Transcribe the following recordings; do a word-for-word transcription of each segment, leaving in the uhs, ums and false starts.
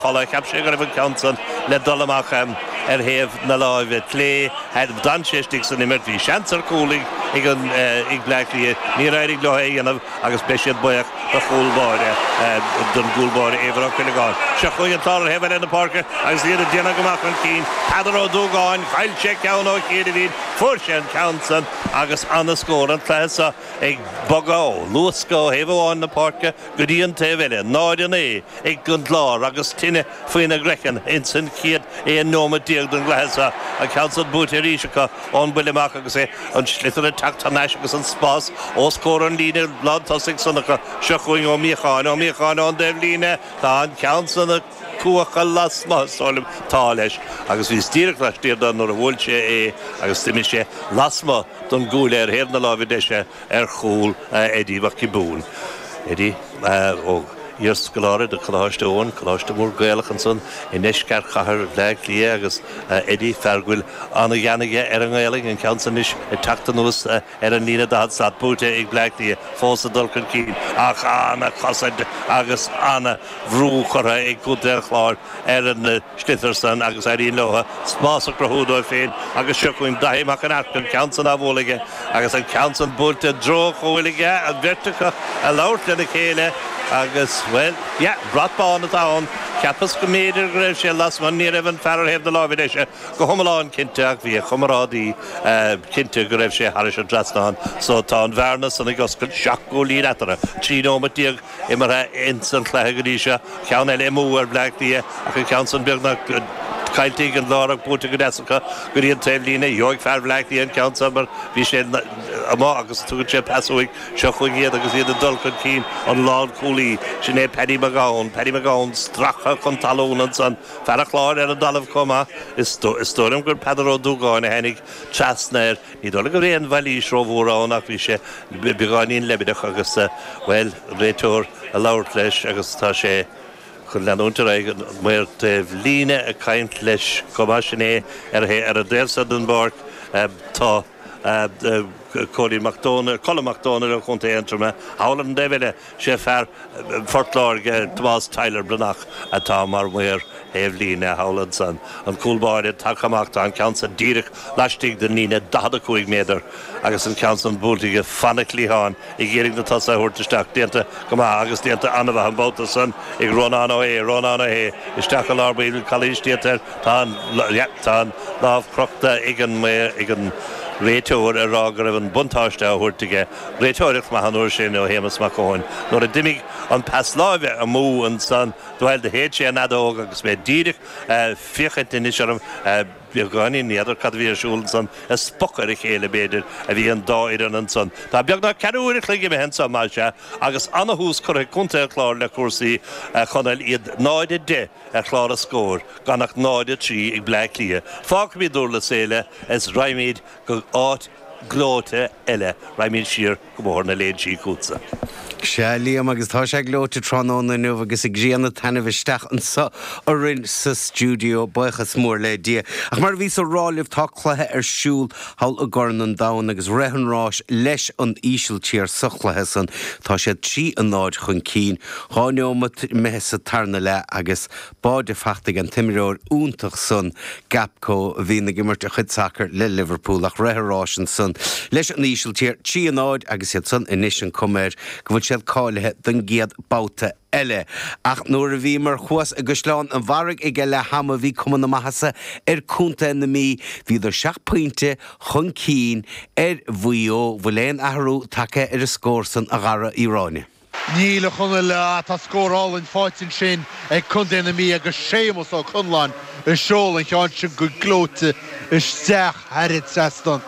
Cheap sé go raibh an ceann san le dul amach ar thaobh na láimhe clé. D'fhan sé istigh san imirt, bhí seans ar chúl ag an ag Bleá Cliath, níor éirigh leo é a dhéanamh agus beidh siad buíoch do chúl báire don gcúl báire Éibhear Ó Cuileagáin. Seo chugainn an Clár ar thaobh eile na páirce agus iad ag déanamh go maith chun cinn. Peadar Ó Dúgáin, chaill sé ceann ó chianaibh, fuair sé an ceann san agus ana-scór an cluiche seo ag bogadh ó luascadh ó thaobh amháin na páirce go dtí an taobh eile, náid a naoi ag an gClár agus tine faoina gcraiceann ins an chéad aon nóiméad déag den gcluiche seo. An ceann san buaite arís acu ón buille amach agus é an sliotar ag teacht thar n-ais agus an spás os comhair an líne lántosaigh san acu. Seo chugainn Ó Míocháin, Ó Míocháin ón dtaobh líne, tá an ceann san ag cuachadh lasmuigh, is dóigh liom. Tá leis. Agus bhíos díreach laistiar de nuair a bhuail sé é agus d'imigh sé lasmuigh don gcuaille ar thaobh na láimhe deise ar chúl Eddie Mac Giobúin. Eddie ó iarscoláire de Choláiste Eoin, coláiste mór Gaelach ansan i ndeisceart chathair Bhleá Cliath agus Eddie, fear go bhfuil an-ghean aige ar an nGaelainn, an ceann san anois ag teacht anuas ar an líne daichead slat, buaite ag Bleá Cliath, fós ag dul chun cinn ach ana-chosaint agus ana-bhrú curtha ag Contae an Chláir ar an sliotar san agus éiríonn leo spás a chruthú dóibh féin agus seo chugainn Daithí Mac an Earc, an ceann san á bhualadh aige agus an ceann san buailte i dtreo an chúil aige, an bheirt acu ag labhairt lena chéile agus, bhuel, yeah, brat bán atá ann. Cheapas go mb'fhéidir go raibh sé lasmuigh, ní raibh an fear ar thaobh na láimhe deise go hiomlán cinnte ach bhí a chomrádaí cinnte go raibh sé thairis an trasnán. So tá an bhearna san ag oscailt, seacht gcúilín eatarthu, trí nóiméad déag imeartha ins an chluiche go dtí seo. Ceann eile amú ar Bhleá Cliath ach an ceann san beagnach caillte ag an gClár ach buaite go deas acu go dtí an taobh líne. Gheobhaidh fear Bhleá Cliath an ceann san mar bhí sé amuigh agus tugann sé pas uaidh. Seo chugainn iad agus iad ag dul chun cinn, an lánchúlaí, sin é Paddy McGowan, Paddy McGowan stractha chun talún ansan, fear an Chláir ar an dtalamh chomh maith. Is dóigh liom gur Peadar Ó Dúgáin a tháinig trasna air. Ní dóigh liom go raibh aon mhailís rómhór ann ach bhí sé beagáinín leibideach agus, bhuel, an réiteoir ag labhairt leis agus tá sé chun leanúint ar aghaidh, an maor taobh líne ag caint leis chomh maith, sin é ar an dtaobh seo den bpáirc. Tá. Cóilín Mac Dónaill, Colm Mac Dónaill ó Chontae Aontroma, thall ar an dtaobh eile, sé fear Phort Láirge, Tomás Tyler Breathnach, atá mar mhaor thaobh líne thall ansan. An cúl báire tagtha amach, tá an ceann san díreach laistigh den líne daichead a cúig méadar agus an ceann san buailte aige fana chliathán ag iarraidh na tosaithe a thabhairt isteach. Déanta go maith agus déanta an-mhaith an babhta san ag Rónán Ó hAodha, Rónán Ó hAodha isteach i lár baill, calaois déanta air, tá an, yeah, tá an lámh crochta ag an, ag an réiteoir ag rá go raibh an buntáiste á thabhairt aige. Réiteoireacht maith an uair sin ó Shéamus Mac Eoin. Nuair a d'imigh an pas láimhe amú ansan, bhuel, do shéid sé an fheadóg agus mé díreach ag féachaint anois orm beagáinín, ní fheadar cad a bhí ar siúl ansan, ag spochadh ar a chéile, b'fhéidir, a bhí an dá fhoireann ansan. Tá beagnach ceathrú uair a chloig imithe anso, más ea, agus ana-thús curtha ag Contae an Chláir le cúrsaí, a Chonaill, iad náid a deich ar chlár an scóir, gan ach náid a trí ag Bleá Cliath. Fágfaimid Durlas Éile is raghaimid go áit gleoite eile, raghaimid siar go Bóthar na Léinsí chugatsa. Sea, Liam, agus tá sé gleoite tráthnóna inniu agus an ghrian ag taitneamh isteach anso orainn sa stiúideo, buíochas mór le Dia. Ach mar a bhíos a rá libh, tá cluiche ar siúl thall i gCorn an Domhain agus rith an ráis leis an Ísiltír sa chluiche san. Tá siad trí a náid chun cinn, dhá neomat imithe sa tarna leath agus báide fachta ag an t-imreoir iontach san, Gakpo, a bhíonn ag imirt a chuid sacair le Liverpool ach rith an ráis ansan leis an Ísiltír, trí a náid agus iad san anois an cuma air go bhfuil siad cáilithe don gcéad babhta eile. Ach nuair a bhíomar thuas i gCaisleán an Bharraigh ag leath ama bhí cuma na maitheasa ar Contae na Mí, bhíodar seacht pointe chun cinn ar Mhaigh Eo. Bhfuil aon athrú tagtha ar an scór san a Dhara Uí Ráinne? Níl, a Chonaill, tá scór álainn faighte ansin ag Contae na Mí agus Séamus Ó Conláin ag seoladh an cheann sin go gleoite isteach thar an trasnán.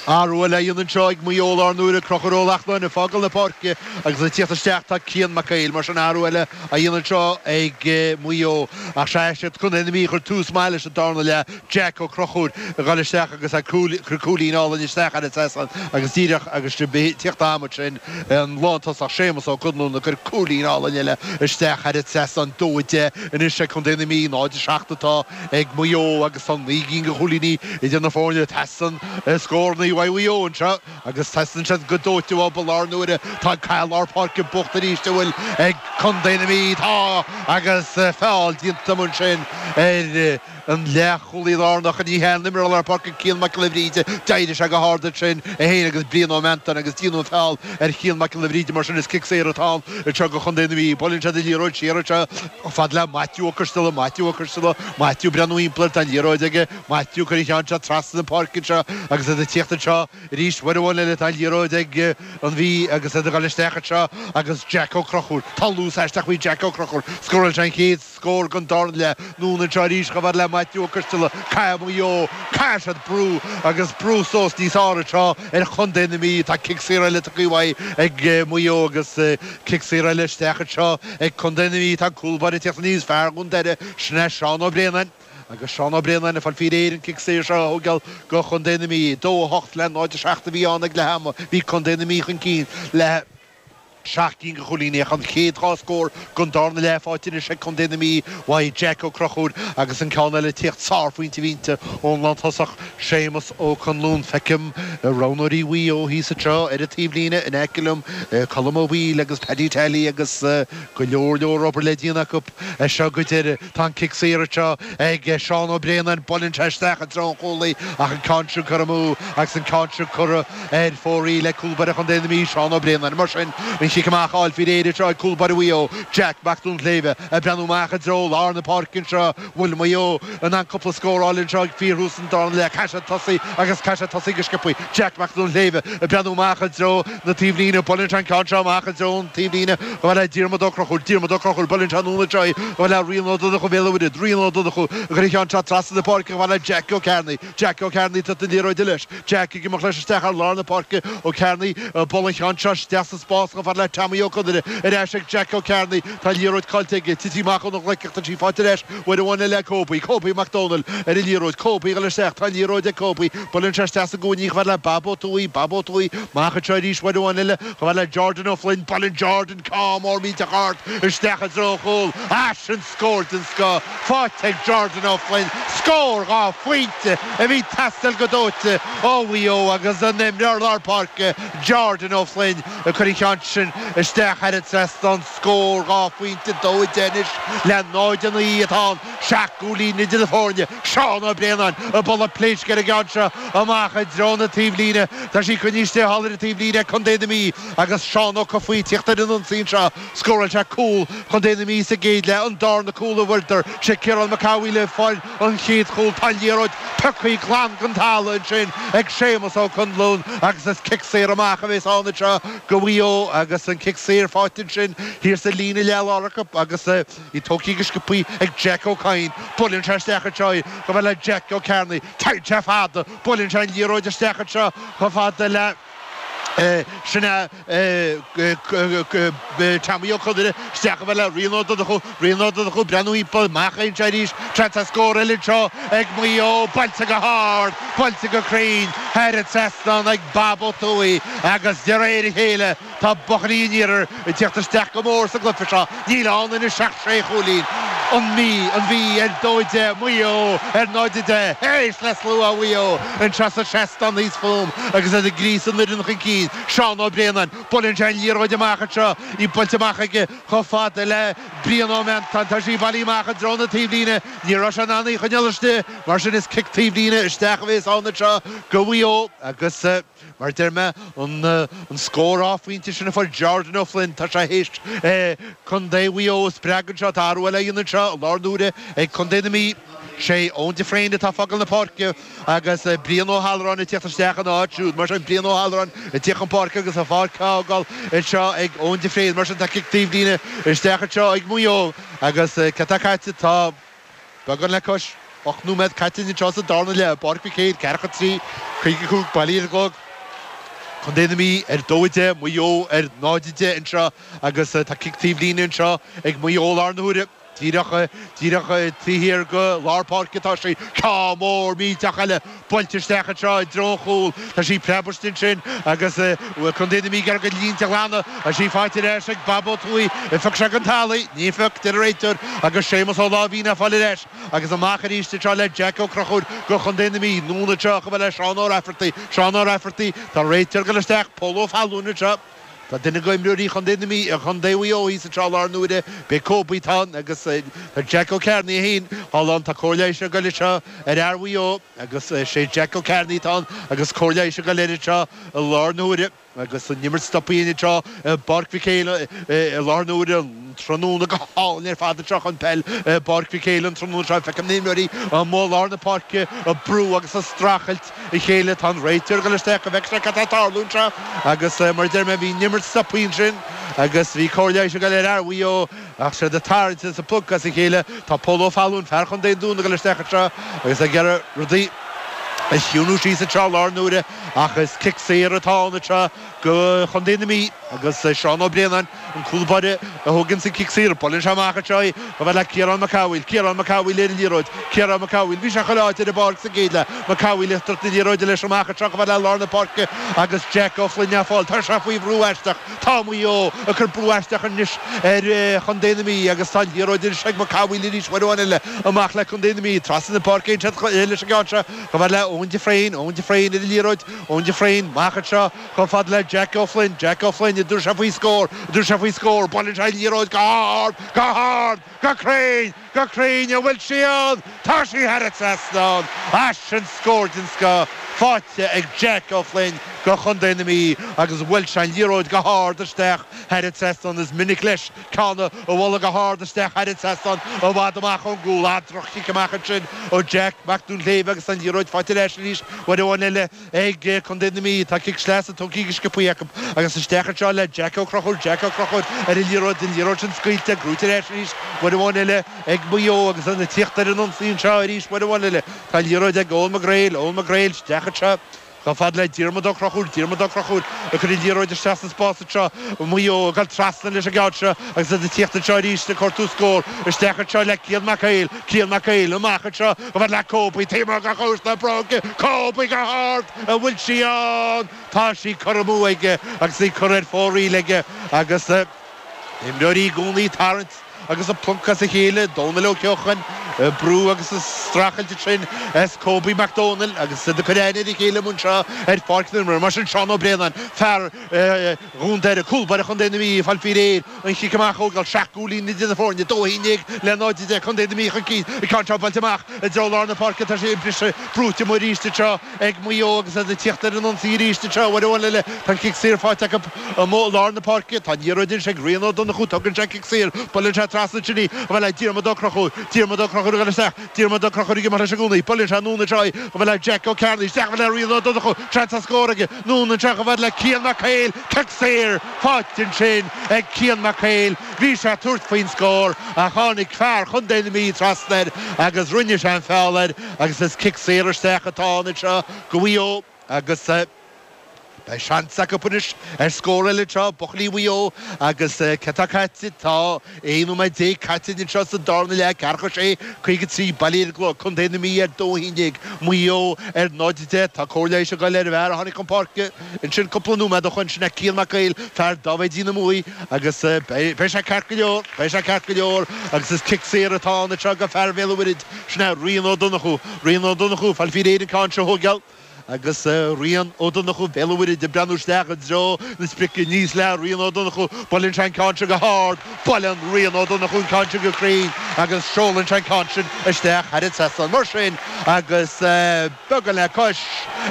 Athrú eile á dhéanamh anseo ag Maigh Eo lár na huaire, Conchúr Ó Lachtnáin ag fágáil na páirce agus ag tíocht isteach tá Cian Mac Éil. Mar sin athrú eile á dhéanamh anseo ag Maigh Eo. Ach sea, is iad Contae na Mí a chuir tús maith leis an darna leath. Jack Ó Conchúir ag dul isteach agus ag cur cúilín álainn isteach thar an trasnán agus díreach agus tíocht ama ansin an lántosach Séamus Ó Conluain ag cur cúilín álainn eile isteach thar an trasnán. Dó a deich anois ag Contae na Mí, náid a seacht atá ag Maigh Eo agus tá naoi gcinn de chúilíní idir na foirne. Teastaíonn scóranna Scórálaí uaidh Mhaigh Eo anseo agus teastaíonn siad go dóite uathu i láthair na huaire. Tá caill lár páirce bocht arís an bhfuil ag Contae na Mí. Tá agus feall déanta ansin ar an leathchúlaí lárnach ní hea an t-imreoir lár páirce Cian Mac Giolla Bhríde. D'éirigh sé go hard ansin é féin agus Brian Ó Meantáin agus déanadh an feall ar Chian Mac Giolla Bhríde mar sin is cic saor atá ann anseo do Chontae na Mí. Buaileann siad an liathróid siar anseo chomh fada le Maitiú Ó Coisteala, Maitiú Ó Coisteala, Maitiú ag breathnú thimpeall air, tá an liathróid aige, Maitiú ag cur an cheann seo trasna na páirce anseo agus iad ag tíocht anseo arís uair amháin eile tá an liathróid ag an Mhí agus iad ag dul isteach anseo agus Jack Ó Conchúir, tá luas aisteach faoi Jack Ó Conchúir, scóráil sé an chéad scór den darna leath, anonn anseo arís chomh fada le Maitiú Ó Coisteala, caithfidh Maigh Eo, caithfidh siad brú agus brú suas níos fearr anseo ar chontae na Mí, tá cic saor eile tugtha uaidh ag Maigh Eo agus cic saor eile isteach anseo ag contae na Mí, tá an cúl báire ag tíocht aníos, fear Dhún Doire, sin é Seán Ó Braonáin. Agus Seán Ó Braonáin ag fáil faoi réir an cic saor seo a thógáil do chontae na Mí. Dó a hocht le náid a seacht a bhí ann ag leath ama. Bhí contae na Mí chun cinn le seacht gcinn de chúilíní ach an chéad dhá scór den darna leath faighte anois ag contae na Mí uaidh Jack Ó Conchúir agus an ceann eile ag tíocht sárphointe bhínte ón lántosach Séamus Ó Conluain. Feicim roghnóirí Mhaigh Eo thíos anseo ar an taobhlíne in aice liom, Colm Ó Baoill agus Paddy Tally agus go leor leor obair le déanamh acu as seo go deireadh. Tá an cic saor anseo ag Seán Ó Braonáin, buaileann sé isteach i dtreo an chúlaí ach an ceann sin curtha amú agus an ceann sin curtha ar fóraoil ag cúl báire Chontae na Mí, Seán Ó Braonáin. Mar sin, an chic amach á fháil faoi réir anseo ag cúl báire Mhaigh Eo, Jack Mac Duinnshléibhe, ag breathnú amach i dtreo lár na páirce anseo. Bhfuil Maigh Eo in ann cúpla scór a fháil anseo ag fíorthús an darna leath? Caithfidh siad tosaí agus caithfidh siad tosaí go sciobtha. Jack Mac Duinnshléibhe ag breathnú amach i dtreo na taobhlíne. Buaileann sé an ceann seo amach i dtreo an taobhlíne. Chomh fada le Diarmuid Ó Conchúir. Diarmuid Ó Conchúir, buaileann sé anonn anseo í. Chomh fada le Rian Ó Donnchú Bhéal an Mhuirthead. Rian Ó Donnchú ag cur an cheann seo trasna na páirce chomh fada le Jack Ó Cearnaigh. Jack Ó Cearnaigh ag tabhairt na liathróide leis. Jack ag imeacht leis isteach ar lár na páirce. Ó Cearnaigh ag bualadh an cheann seo isteach sa spás chomh fada le Tommy Ó Conaire. Ar ais ag Jack Ó Cearnaigh. Tá an liathróid caillte aige. Tití amach óna ghlaic ach tá sí faighte ar ais uair amháin eile ag Kobe. Kobe Mac Dónaill ar an liathróid. Kobe ag dul isteach. Tá an liathróid ag Kobe. Buaileann sé isteach sa gcúinne chomh fada le Bob Ó Tuathaigh. Bob Ó Tuathaigh amach anseo arís uair amháin eile chomh fada le Jordan Ó Floinn. Buaileann Jordan ceann mór millteach ard isteach i dtreo an chúil. Ah, sin scór den scoth faighte ag Jordan Ó Floinn. Scór dhá phointe a bhí ag teastáil go dóite ó Mhaigh Eo agus an t-imreoir lár páirce Jordan Ó Floinn ag cur an cheann sin isteach thar an trasnán. Scór dhá phointe, dó a deich anois le náid a naoi atá ann. Seacht gcúilín idir na foirne. Seán Ó Braonáin ag bualadh pléisc ar an gceann seo amach i dtreo na taobhlíne. Tá sí coinnithe istigh thall ar an taobhlíne ag contae na Mí agus Seán Ó Cofaigh ag tíocht ar an ionsaí anseo. Scóráil sé cúl chontae na Mí sa gcéad leath, an darna cúl a bhfuaireadar. Sé Ciarán Mac Cathmhaoil a fuair an chéad chúl. Tá an liathróid pioctha glan den talamh ansin ag Séamus Ó Conluain agus is cic saor amach a bheas ann anseo do Mhaigh Eo agus an cic saor faighte ansin thiar sa líne leath-lár acu agus í tógtha go sciobtha ag Jack Ó Cadhain. Buaileann sé isteach anseo í chomh fada le Jack Ó Cearnaigh. Téann sé fada. Buaileann sé an liathróid isteach anseo chomh fada le Sin é Tommy Ó Conaire isteach chomh fada le Rian Ó Donnchú. Rian Ó Donnchú breathnú thimpeall, amach anseo arís. Seans ar scór eile anseo ag Maigh Eo. Buailte go hard, buailte go cruinn thar an trasnán ag Bob Ó Tuathaigh agus de réir a chéile tá buachaillí an iarthair ag tíocht isteach go mór sa gcluiche seo. Níl ann anois ach sé chúilín. An Mhí, an Mhí ar dó a deich, Maigh Eo ar náid a deich. Éist le slua Mhaigh Eo anseo sa seastán thíos fúm agus iad ag gríosadh an fhoireann chun cinn. Seán Ó Braonáin, buaileann sé an liathróid amach anseo, í buailte amach aige chomh fada le Brian Ó Meantáin. Tá sí bailithe amach i dtreo na taobhlíne. Ní raibh sé in ann í a choinneáil istigh, mar sin is cic taobhlíne isteach a bhéas ann anseo do Mhaigh Eo agus, Mar a deir mé, an scór dhá phointe sin a fuair Jordan O'Flynn, tá sé théis Contae Mhaigh Eo a spreagadh anseo. Tá athrú eile á dhéanamh anseo i láthair na huaire ag Contae na Mí. Sé Eoin de Fréine atá ag fágáil na páirce agus Brian Ó hAlluráin ag tíocht isteach ina áit siúd. Mar sin, Brian Ó hAlluráin ag tíocht chun páirce agus an pháirc á fhágáil anseo ag Eoin de Fréine. Mar sin, tá cic taobhlíne isteach anseo ag Maigh Eo agus cad tá caite? Tá. Beagán le cois ocht nóiméad caite anseo sa darna leath i bPáirc Mhic Éil, ceathracha a trí, caoga a cúig, bailithe ar an gclog. Contae na Mí ar dó a deich, Maigh Eo ar náid a deich anseo agus tá cic taobhlíne anseo ag Maigh Eo i láthair na huaire. Díreach díreach taobh thiar de lár páirce atá sí. Ceann mór millteach eile buailte isteach anseo i dtreo an chúil. Tá sí preabadh ansin agus Contae na Mí ag iarraidh a gcuid línte a ghlanadh. Tá sí faighte ar ais ag Bob Ó Tuathaigh. An phioc sé den talamh? Ní phioc, deir an réiteoir agus Séamus Ó Láimhín á fáil ar ais agus amach arís anseo le Jack Ó Conchúir do Chontae na Mí. Anonn anseo chomh fada le Seán Ó Raifeartaigh. Seán Ó Raifeartaigh. Tá an réiteoir ag dul isteach. Pól Ó Fallúin anseo. Tá duine d'imreoirí Chontae na Mí, Chontae Mhaigh Eo thíos anseo i láthair na huaire, b'é Kobe atá ann agus tá Jack Ó Cearnaigh é féin thall ann. Tá cóir leighis ag goil anseo ar fhear Mhaigh Eo agus sé Jack Ó Cearnaigh atá ann agus cóir leighis ag goil air anseo i láthair na huaire agus an imirt stoptha anseo i bPáirc Mhic Éil i láthair na huaire. Tráthnóna go hálainn ar fad anseo chun peil i bPáirc Mhic Éil an tráthnóna seo. Feicim na himreoirí amuigh i lár na páirce ag brú agus ag streachailt a chéile. Tá an réiteoir ag dul isteach go bhfeicfidh sé cad tá ag tarlú anseo agus mar a deir mé bhí an imirt stoptha ansin agus bhí cóir leighis ag dul ar fhear Mhaigh Eo ach siad ag tarraingt is ag plucadh as a chéile. Tá Pól Ó Fallúin, fear Chontae an Dúin ag dul isteach anseo agus ag iarraidh rudaí a chiúnú síos anseo i láthair na huaire ach is cic saor atá ann anseo do Chontae na Mí agus Seán Ó Braonáin, an cúl báire a thóganns an cic saor. Buaileann sé amach anseo í chomh fada le Ciarán Mac Cathmhaoil. Ciarán Mac Cathmhaoil ar an liathróid. Ciarán Mac Cathmhaoil. Bhí sé chuile áit ar an bpáirc sa gcéad leath. Mac Cathmhaoil ag tabhairt na liathróide leis amach anseo chomh fada le lár na páirce agus Jack Ó Floinn á fáil. Tá sé faoi bhrú aisteach. Tá Maigh Eo ag cur brú aisteach anois ar Chontae na Mí agus tá an liathróid anois ag Mac Cathmhaoil arís uair amháin eile amach le Contae na Mí. Trasna na páirce ansin leis an gceann seo chomh fada le Eoin de Fréin. Eoin de Fréin ar an liathróid. Eoin de Fréin amach anseo chomh fada le Jack O'Flynn. Jack O'Flynn, an dtabharfaidh sé faoi scór, an dtabharfaidh sé faoi scór. Buaileann sé an liathróid go hard, go hard, go cruinn, go cruinn. An bhfuil sí ann? Tá sí thar an trasnán. Ah sin scór den scoth faighte ag Jack O'Flynn do Chontae na Mí agus bhuail sé an liathróid go hard isteach thar an trasnán. Is minic leis ceann a bhualadh go hard isteach thar an trasnán i bhfad amach ón gcúl. Ah droch-chic amach ansin ó Jack Mac Duinnshléibhe agus an liathróid faighte ar ais arís uair amháin eile ag Contae na Mí. Tá cic sleasa tugtha go sciobtha acu agus isteach anseo le Jack Ó Conchúir. Jack Ó Conchúir ar an liathróid, an liathróid sin scaoilte, gnóite ar ais arís uair amháin eile ag Maigh Eo agus iad ag tíocht ar an ionsaí anseo arís uair amháin eile. Tá an liathróid ag Eoin McGrail. Eoin McGrail isteach anseo chomh fada le Diarmuid Ó Conchúir. Diarmuid Ó Conchúir ag cur an liathróid isteach sa spás anseo. Maigh Eo ag dul trasna leis an gceann seo agus iad ag tíocht anseo arís ag cuartú scór. Isteach anseo le Cian Mac Éil. Cian Mac Éil amach anseo chomh fada le Kobe. Taobh amuigh de chluas na bróige. Kobe go hard. An bhfuil sí ann? Tá sí curtha amú aige agus í curtha ar fóraoil aige agus imreoirí i gcónaí ag tarraingt agus ag pluncadh as a chéile. Dónal Ó Ceocháin ag brú agus ag streachailt ansin as Kobe Mac Dónaill agus iad ag cur aithne ar a chéile amuigh anseo ar pháirc na himeartha. Mar sin Seán Ó Braonáin, fear Dhún Doire, cúl báire Chontae na Mí, ag fáil faoi réir an chic amach a thógáil. Seacht gcúilín idir na foirne, dó a haon déag le náid a deich, Contae na Mí chun cinn. An ceann seo buailte amach i dtreo lár na páirce, tá sé briste, brúite amuigh arís anseo ag Maigh Eo agus iad ag tíocht ar an ionsaí arís anseo uair amháin eile. Tá an cic saor faighte acu amuigh i lár na páirce. Tá an liathróid anois ag Rian Ó Donnchú. Tugann sé an cic saor. Buaileann sé trasna ansin í chomh fada le Diarmuid Ó Conchúir. Diarmuid Ó Conchúir ag dul isteach. Diarmuid Ó Conchúir ag imeacht leis i gcónaí. Buaileann sé anonn anseo í chomh fada le Jack Ó Cearnaigh. Isteach chomh fada le Rian Ó Donnchú. Seans ar scór aige. Anonn anseo chomh fada le Cian Mac Éil. Cic saor faighte ansin ag Cian Mac Éil. Bhí sé ag tabhairt faoin scór ach tháinig fear Chontae na Mí trasna air agus rinne sé an feall air agus is cic saor isteach atá ann anseo do Mhaigh Eo agus beidh seans acu anois ar scór eile anseo, buachaillí Mhaigh Eo agus cé tá caite? Tá aon nóiméad déag caite anseo sa darna leath, ceathracha sé, caoga trí, Baile Átha Cliath, Contae na Mí ar dó a haon déag, Maigh Eo ar náid a deich. Tá cóir leighis ag goil ar an bhfear a tháinig chun páirce ansin cúpla nóiméad ó shoin, sin é Cian Mac Éil, fear Dáibhéidín na Muaidhe agus beidh sé ceart go leor, beidh sé ceart go leor agus is cic saor atá ann anseo do fear Bhéal an Mhuirthead, sin é Rian Ó Donnchú. Rian Ó Donnchú, ag fáil faoi réir an ceann seo a thógáil. Agus Rian Ó Donnchú, Béal an Mhuirthead ag breathnú isteach i dtreo na sprice aníos le Rian Ó Donnchú. Buaileann sé an ceann seo go hard. Buaileann Rian Ó Donnchú an ceann seo go cruinn agus seolann sé an ceann sin isteach thar an trasnán. Mar sin, agus beagán le cois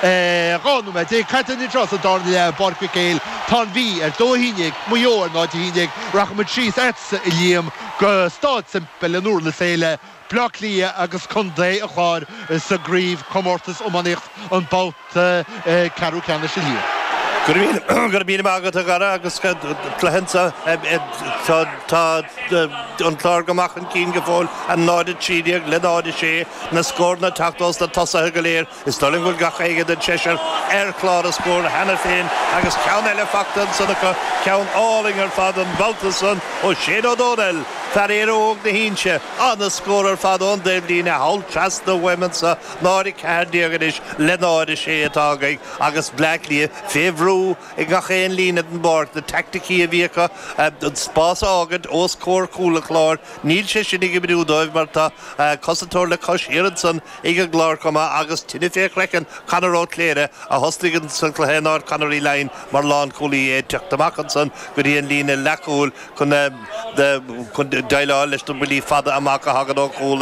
dhá nóiméad déag caite anseo sa darna leath i bPáirc Mhic Éil, tá an Mhí ar dó a haon déag, Maigh Eo ar náid a haon déag. Rachaimid síos agatsa, a Liam, go Stáid Semple in Durlas Éile. Bleá Cliath agus Contae an Chláir sa gcraobhchomórtas iománaíocht an babhta ceathrú ceannais a Liam. Go raibh míle maith agat a Dhara agus cluiche anseo tá an Clár go maith chun cinn go fóill, a náid a trí déag le náid a sé, na scóranna ag teacht ós na tosaithe go léir. Is dóigh liom go bhfuil gach éinne den seisear ar chlár na scór cheana féin agus ceann eile fachta ansan acu, ceann álainn ar fad an babhta san ó Shane Ó Dónaill. Fear Éire Óg na hInse an-scór ar fad ón dtaobhlíne thall trasna uaim anseo náid a ceathair déag anois le náid a sé atá againn agus Bleá Cliath fé bhrú i ngach aon líne den bpáirc na teaicticí a bhí acu an spás a fhágaint os comhair chúl an Chláir níl sé sin ag oibriú dóibh mar tá cosantóir le cois thiar ansan ag an gClár chomh maith agus tine fé chraiceann Conor Ó Cléire a thosnaigh sa chluiche in áit Conor Uí Laighin mar lánchúlaí é teacht amach ansan go dtí an líne leathchúil chun chun déileáil leis na buillí fada amach a thagann ó chúl